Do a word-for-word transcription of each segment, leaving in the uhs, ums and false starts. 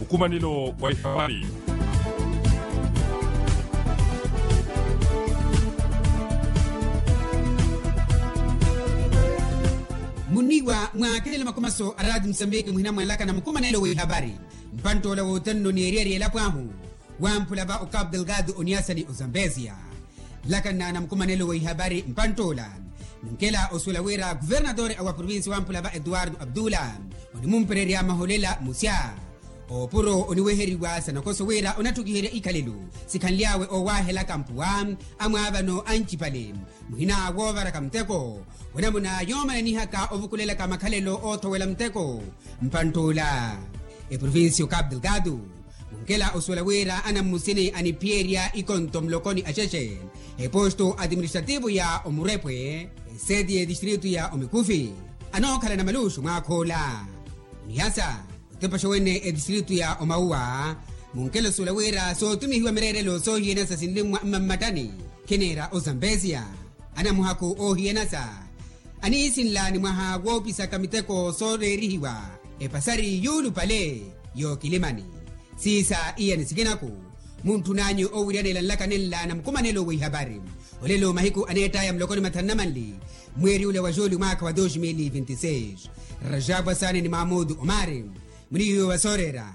Nkumanelo wa ihapari. Muniwa mwa akhelelo makumaso a raati musambiki muhina mwanlaka na mukumanelo wa ihapari. Mpanttoola wootanno ni eriyari elapo ahu wamphula va okapu delgado oniyasa ni ozambezia. Nlakanna na mukumanelo wa ihapari mpanttoola, munkela osuwela wira kuvernatore a wa provincia wamphula va etuwardo abdula onimumpererya maholela musya opuro oniweheriwa sanakoso wira onattukiherya ikhalelo sikhanly'awe owahelaka mpuwa amwaavano ancipale muhina woovaraka muteko. Onamuna yoomananihaka ovukulelaka makhalelo oothowela muteko mpanttoola eprovincia okapu delgado. Munkela osuwela wira anammusini aniphiyerya ikonto mulokoni axexe eposto atiministrativo ya omurepwe eseti y'etistritu ya omikufi anookhala na maluxu mwaakha ola. Onihasa otepaxa wene etistritu ya omauwa. Munkela osuwela wira sootumihiwa mireerelo soohiyanasa sinlimwa mmammattani khineera ozambezia anamuhakhu oohiyanasa aniisinla ni mwaha woopisaka miteko sooreerihiwa epasari yuulupale yookilimani. Siisa iyani sikinaku muntthun'anyu owiryanela nlaka nenla na mukumanelo wa ihapari. Olelo mahiku aneett'aya mulokoni mathanu na manli mweeri ula wa juuli mwaakha wa dos mil vinti seis. Rajabu asaani ni mamudu omari munihiwe wa sooreera.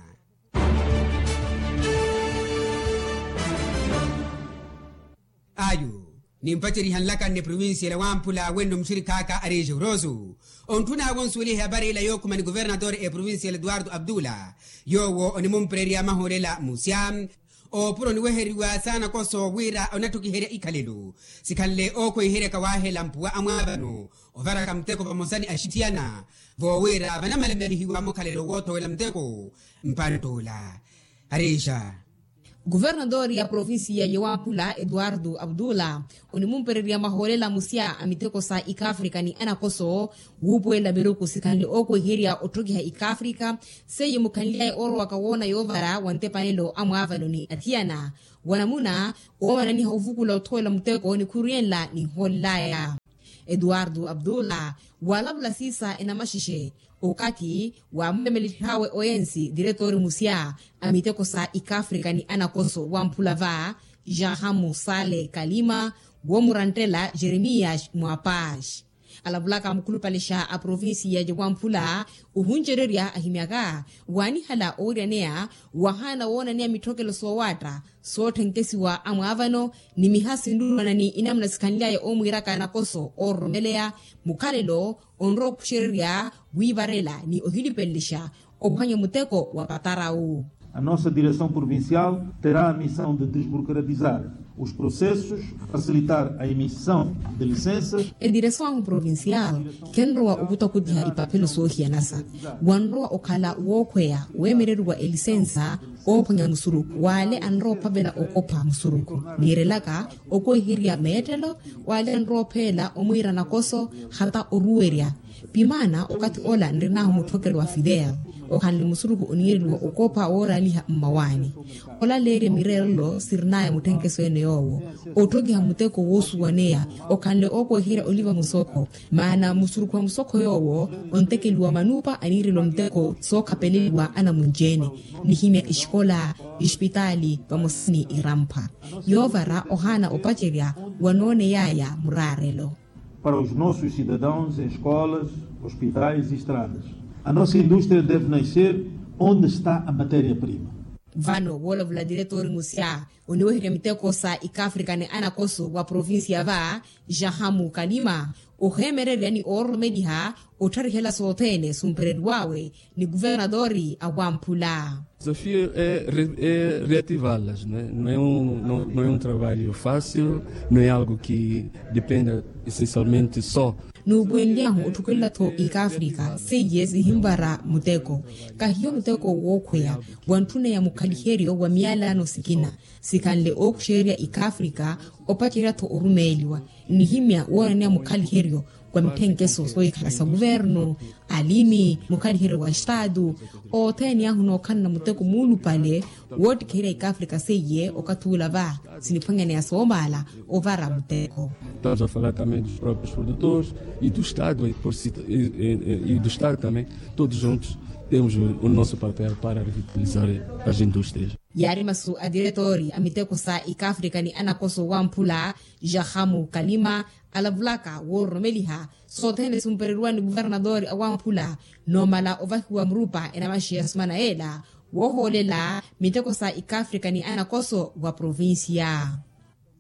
Ayu nimpaceriha nlaka nne provincia ela wamphula wenno muxirikhaaka ari exeuroso. Ontthun'awe onsuweliha ehapari ila yookhuma ni kuvernatore eprovincia ela etuwardo abdula yoowo onimumpererya mahoolela musya oopuro oniweheriwa saana koso wira onatthukiherya ikhalelo sikhanle ookhweiheryaka waahela mpuwa amwaavano ovaraka muteko vamosa ni axithiyana voowira vanamalemelihiwa mukhalelo woothowela muteko mpantt'ola. Arixa kuvernadori ya provincia ya wamphula etuwardo abdula onimumpererya mahoolela musya a miteko sa ikaafrika ni anakoso wuupuwela miruku sikhanle ookhweiherya otthokiha ikaafrika seiye mukhanly'aya oorowaka woona yoovara wa ntepanelo a mwaavano ni athiyana wa namuna oomananiha ovukula othowela muteko nikhuru yenla ninhoolel'aya. Etuwardo abdula waalavula siisa enamaxixe okathi waamulemelelihawe oyensi diretori musya a miteko sa ikaafrika ni anakoso wamphula va jahamu sale kalima woomurantela jeremias mwapax alavulaka mukhulupalexa a provincia ya wamphula ohuncererya ahimyaka waanihala owiryaneya wahaana woonaneya mitthokelo soowaatta sootthenkhesiwa a mwaavano ni miha sinrurwana ni inamuna sikhanly'aya oomwiiraka nakoso oororomeleya mukhalelo onrowa okhuxererya wiivarela ni ohilipelelixa ophwanya muteko wa patarawu. A nossa direção provincial terá a missão de desburocratizar os processos, facilitar a emissão de licenças. Ediresawahu provincial khenrowa okuta okutiha ipaphelo soohiyanasa wanrowa okhala wookhweya weemereriwa elisensa oophwanya musuruku w'ale anrowa ophavela okopha musuruku niirelaka okweherya meettelo w'ale anrowa opheela omwiira nakoso hata oruwerya pimaana okathi ola nrinahu mutthokelo wa fidel okhanle musuruku oniireliwa okopha wooraaliha mmawaani olaleerya mireerelo sirinaya mutthenkeso ene yoowo otthokiha muteko woosuwaneya okhanle ookweherya oliva musokho maana musuruku wa musokho yoowo ontekeliwa manupa aniireliwa muteko sookhapeleliwa anamunci-ene nihimya exikola exipitaali vamosa ni irampha yoovara ohaana opacerya wanooney'aya muraarelo. Para os nossos cidadãos em escolas, hospitais e estradas. A nossa indústria deve nascer onde está a matéria-prima. Vano woolavula diretori musya oniweherya miteko sa ikaafrika ni anakoso wa provincia va jahamu kalima oheemererya ni oororomeliha ottharihela sothene sumpereriwawe ni kuvernadori a wamphula. Desafio é reativalas no é um trabalho fácil, no é algo que dependa essencialmente só. Nuupuwenlyahu otthukelela-tho ikaafrika seiye sihinvara muteko kahiyo muteko wookhweya wantthuneya mukhaliheryo wa miyalano sikina sikhanle ookuxererya ikaafrika opacerya-tho orumeeliwa nnihimya woonaneya mukhaliheryo Kwa mithenkeso soohikhala sa kuvernu, alimi, mukhaliheryo wa estaatu, othene ahu nookhalana muteko muulupale woottikherya ikafrika seiye. Okathi ula va siniphwanyaneya soomaala ovara muteko. Estamos a falar também dos próprios produtores e do estado e do estado também. Todos juntos temos o nosso papel para revitalizar as indústrias. Yaari masu a tiretori a miteko sa ikafrika ni anakoso wamphula, jahamu kalima, alavulaka woororomeliha sothene simpereriwa ni kuvernatori awamphula, noomala ovahiwa murupa enamaxi ya sumana yeela, woohoolela miteko sa ikafrika ni anakoso wa provincia.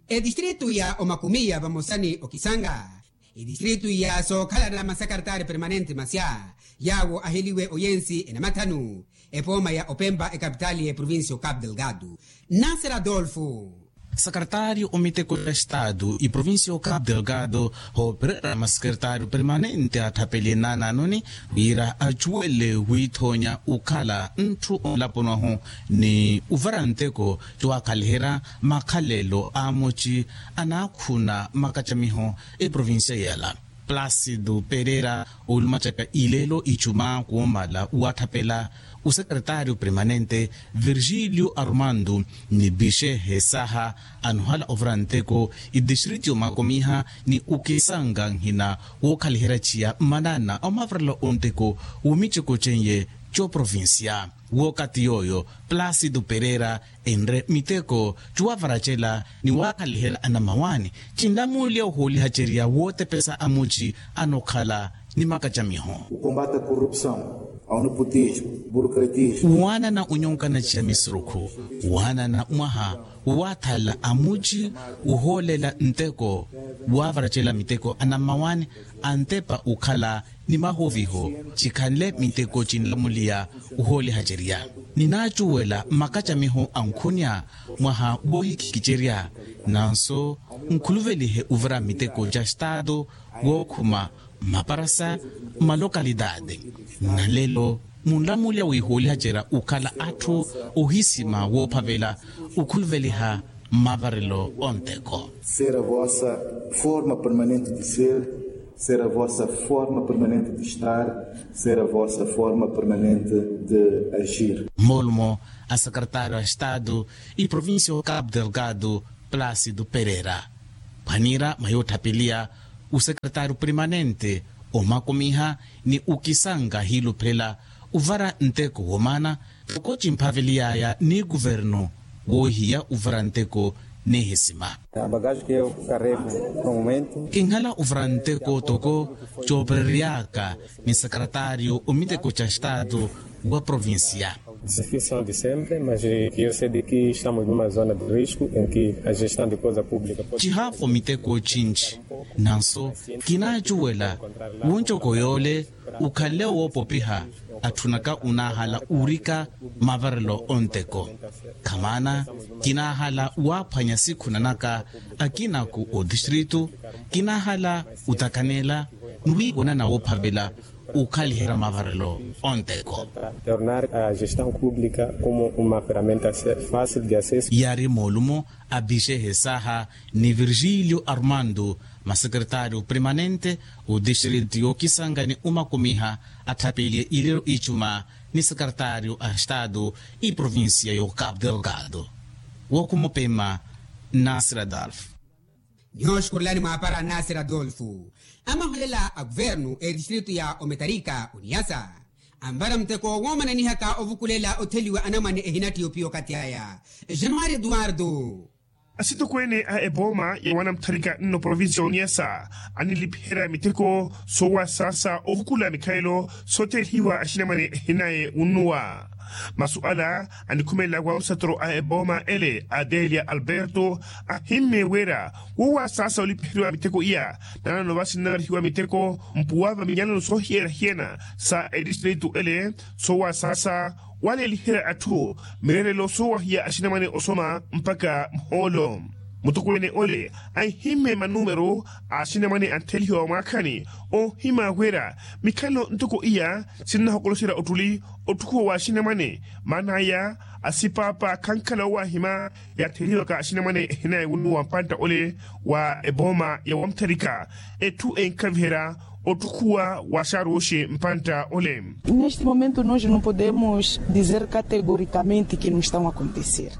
Etistritu ya omakumiya vamosa ni okisanga, etistritu ya sookhalana masakaritari permanente masya, yaawo aheliwe oyensi enamathanu, epooma ya opempa ekapitali ya eprovincia o capu delgado. Nasera adolfo. Sakaritari omiteko ya estatu iprovincia o capu delgado, hoopererya masakaritari permanente atthapeliye naanaanoni, wira acuwele wiithoonya ukhala ntthu onlaponi ahu ni uvara nteko, cuwakhaliherya makhalelo a amoci anaakhuna makacamiho eprovincia yeela. Placido perera, olumacaka ileelo icuma kuwomala uwatthapela usekretario permanente virgilio armando, ni bixe hesaha anohala ovara nteko itistriti omakomiha ni okisanga nhina wookhaliherya chiya mmanana omavarelo onteko womiceko chenye coprovincia. Wookathi yooyo placido perera enre miteko cuwavaracela ni waakhaliherya anamawani, cinlamuliya ohoolihacerya wootepesa amuci anookhala ni makacamiho. Ukombata korupsao, aunuputijo, burokratijo. Waanana onyonkana ciya misurukhu, waanana mwaha wowathala amuci, wohoolela nteko, waavaracela miteko anamawani, antepa okhala ni mahoviho cikhanle miteko cinlamuliya ohoolihacerya. Ninaacuwela makacamiho ankhunya mwaha woohikikicerya, nanso nkhuluvelihe ovira miteko ca estatu wookhuma maparasa malokalitaati. Nalelo munlamuliya wihoolihacerya okhala atthu ohisima woophavela okhuluveliha mavarelo onteko. Ser a vossa forma permanente de ser, ser a vossa forma permanente de estar, ser a vossa forma permanente de agir. Moolumo a sekretario a estatu iprovincia o capu delgado, placido perera. Phwanira mwa yootthapeliya osekretario permanente omakomiha ni okisanga ahiiluphela ovara nteko womana, toko cimphaveliyaya ni kuvernu woohiya ovara nteko nihisima. Kinhala ovara nteko toko coopereryaka ni sekretario omiteko ca estatu wa provincia. Desafios são de sempre, mas eu sei de que estamos numa zona de risco em que a gestão de coisa pública pode. Cihaafo miteko cinci, nanso kinaacuwela woncoko yoole okhanle woopopiha. Atthunaka onaahala orika mavarelo onteko, khamaana kinaahala waaphwanya sikhunanaka akinaku otistritu, kinaahala otakanela ni wiiwonana woophavela okhaliherya mavarelo onteko. Tornar a gestão pública como uma ferramenta fácil de acesso. Yaari moolumo a bixe hesaha ni virgilio armando, masekretario permanente otistritu yookisanga ni omakomiha, atthapeliye ilelo icuma ni sekretario a estatu iprovincia yo capu delgado. Wookhuma opema, nasir adolfo. Nyooxukurulani mwaapara nasir adolfo. Amaholela a kuvernu etistritu ya ometarika oniyasa, anvara muteko woomananihaka ovukulela otheliwa anamwane ehinattiyo piyo okathi aya. Januari eduardo. Asitokweene a epooma ya wanamutharika nno provincia oniyasa anilipiherya miteko soowasaasa ovukula mikhalelo soothelihiwa axinamwane ehinaye wunnuwa. Masu ala anikhumelela wa musatoro a epooma ele a delia alberto, ahimmye wira woowasaasa olipiheriwa miteko iya, nanono vasi nnavarihiwa miteko mpuwa va minyalano soohiyana-hiyana sa etistritu ele, soowasaasa waleeliherya atthu mireerelo soowahiya axinamwane osoma mpakha muhoolo. Mutukuwene ole anhimme manumero a axinamwane anthelihiwa wa mwaakhani. Onhimaawerya mikhalo ntoko iya sinnahokoloxerya ottuli ottukhuwa wa axinamwane. Maana aya asipaapa khankhala owahima yatthelihiwaka axinamwane ehinaye wunnuwa mpantta ole wa epooma ya wamutharika. Etthu enkhaviherya ottukhuwa wa xaruxi mpantta ole. Neste momento nos no podemos dizer categoricamente que no estão acontecer.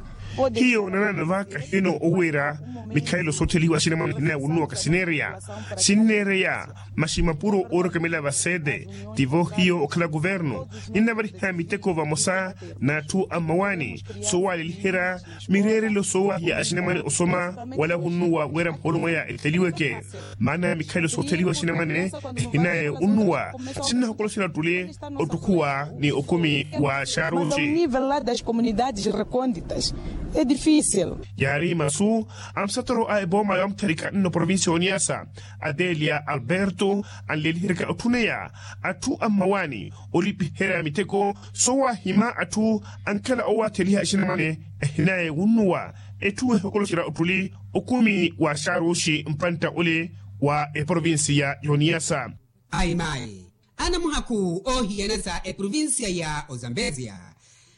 Hiyo nanaana vaka hino oweera mikhalelo soothelihiwa axinamwane hinaye wunnuwaka sineereya. Sinneereya maxi mapuro oorokemela vasete tivo hiyo okhala kuvernu. Ninnavariha miteko vamosa n'atthu a mmawaani soowaleliherya mireerelo soowahiya axinamwane osoma wala wunnuwa wira muhoolo mwaya etheliweke. Maana mikhalelo sootheliwa axinamwane ehinaye wunnuwa sinnahokoloxerya ottuli ottukhuwa ni okumi wa xaruxi. Nivel la das comunidades reconditas e dificil. Yaari masu a musatoro a epooma ya wamutharika nno provincia y'oniyasa adelia alberto anleliheryaka otthuneya atthu a mmawaani olipiherya miteko soowahima atthu ankhala owatheliha axinamwane ehinaye wunnuwa. Etthu ehokoloxerya ottuli okumi wa xaruxi mpantta ole wa eprovincia y'oniyasa. Ayi mayi anamuhakhu oohiyana sa eprovincia ya ozambezia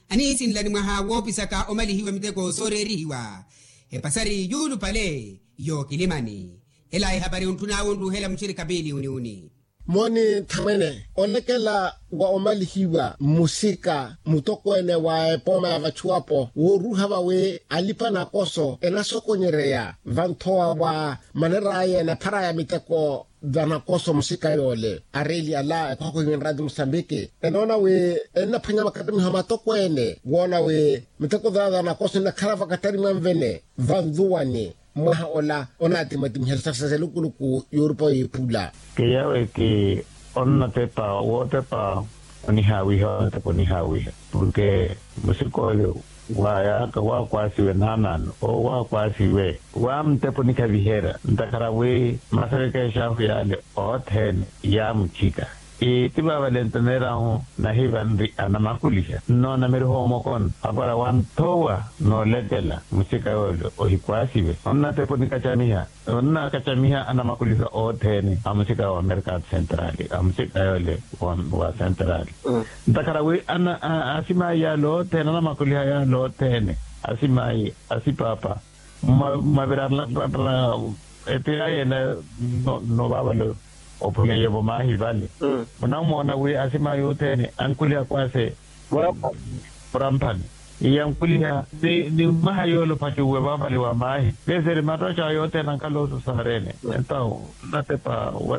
aniisinlani mwaha woopisaka omalihiwa miteko sooreerihiwa epasari yuulupale yookilimani. Ela ehapari ontthun'awe onruuhela muxirikha piili uniuni. Mooni nthamwene olekela wa omalihiwa mmusika mutokweene wa epooma ya vachuwapo wooruuha vawi alipa nakoso enasokonyereya vanthowa wa maner'aya enaphara ya miteko vanakoso musika yoole areeli ala ekhokho iwenrati musambiki enoona wi ennaphwanya makattamiho matokweene woona wi miteko vanakoso nnakhala vakattari mwanvene vanzuwani. Mwaha ola onaatimatimihela sasa selukuluku yorupa yiiphula. Keyawe ki onnatepa wootepa onihaawiha onnatepa onihaawiha porke musikoole waayaaka waakwasiwe naanaano owo waakwasiwe waamutepa onikhaviherya ntakhara wi masereke exaahu yaale othene yaamuchika. Ii ti vaavale nteneerahu nahivanri anamakuliha nnoona miriho omokona apara wanthowa noolekela musika yoole ohikwasiwe onnatepa onikacamiha onnakacamiha anamakuliha othene a musika wa merkado central a musika yoole wa central. Ntakhara wi asimayi yaale othene anamakuliha yaale othene asimayi asipaapa mmavirarana etira yene no vaavale ophuleyevo maahi vale munamoona wi asimayi othene ankuliha kwase muramphani iyankuliha ni mmaha yoole ophacuwe vaavale wa maahi. Veseri mattoca yothene ankhala osusaarene entawu nnatepa